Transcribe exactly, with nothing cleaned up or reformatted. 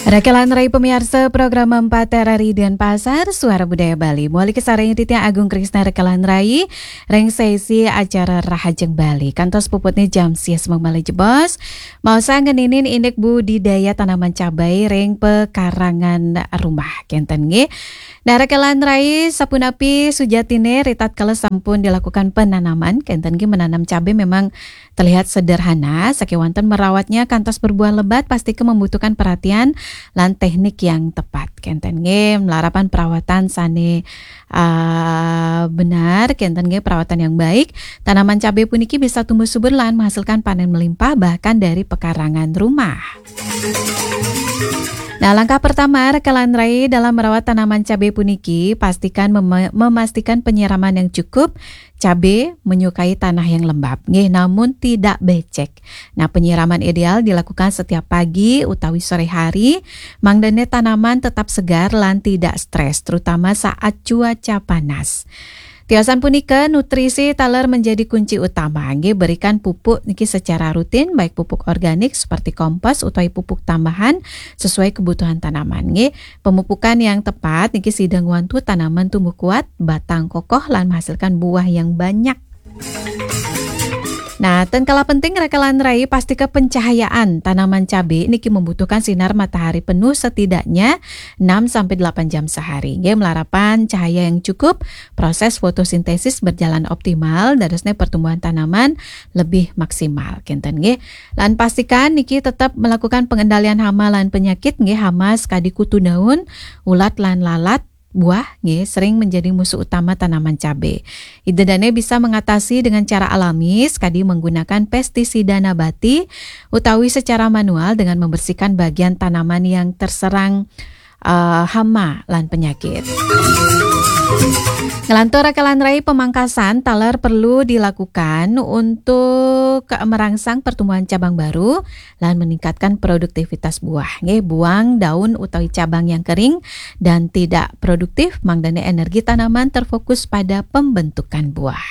Rekelan rai pemiarsa program empat R R I Denpasar, Suara Budaya Bali. Muali kasarengin titiang Agung Krisna rekelan rai, ring sesi acara Rahajeng Bali. Kantos puputne jam sias mabali jebos. Maosang ngeninin indik budidaya tanaman cabai ring pekarangan rumah. Kenten nggih. Nah, rekelan rai sapunapi sujatine ritatkala sampun dilakukan penanaman. Kenten nggih, menanam cabai memang terlihat sederhana, sakewanten merawatnya kantos berbuah lebat pasti ke membutuhkan perhatian lan teknik yang tepat. Kenten nggih, malarapan perawatan sane, ah, benar, kenten nggih perawatan yang baik. Tanaman cabai puniki bisa tumbuh subur lan menghasilkan panen melimpah bahkan dari pekarangan rumah. Nah, langkah pertama rekelan rai dalam merawat tanaman cabai puniki, pastikan mema-, memastikan penyiraman yang cukup. Cabai menyukai tanah yang lembab, nggih, namun tidak becek. Nah, penyiraman ideal dilakukan setiap pagi utawi sore hari, mangdane tanaman tetap segar lan tidak stres, terutama saat cuaca panas. Tiosan punika, nutrisi taler menjadi kunci utama, nggih, berikan pupuk niki secara rutin, baik pupuk organik seperti kompos utawi pupuk tambahan sesuai kebutuhan tanaman, nggih. Pemupukan yang tepat niki sida ngwantu tanaman tumbuh kuat, batang kokoh, lan menghasilkan buah yang banyak. Nah, ten kalah penting rekelan rai, pastika pencahayaan tanaman cabai niki membutuhkan sinar matahari penuh setidaknya enam sampai delapan jam sehari. Nggih, malarapan cahaya yang cukup, proses fotosintesis berjalan optimal, dadosne pertumbuhan tanaman lebih maksimal. Kenten nggih. Lan pastikan niki tetap melakukan pengendalian hama lan penyakit nggih, hama sekadi kutu daun, ulat lan lalat, buah nggih sering menjadi musuh utama tanaman cabai. Ida dane bisa mengatasi dengan cara alami, sekadi menggunakan pestisida nabati, utawi secara manual dengan membersihkan bagian tanaman yang terserang, eh, hama lan penyakit. Ngelantur rekelan rai, pemangkasan taler perlu dilakukan untuk merangsang pertumbuhan cabang baru lan meningkatkan produktivitas buah. Nggih, buang daun utawi cabang yang kering dan tidak produktif, mangdane energi tanaman terfokus pada pembentukan buah.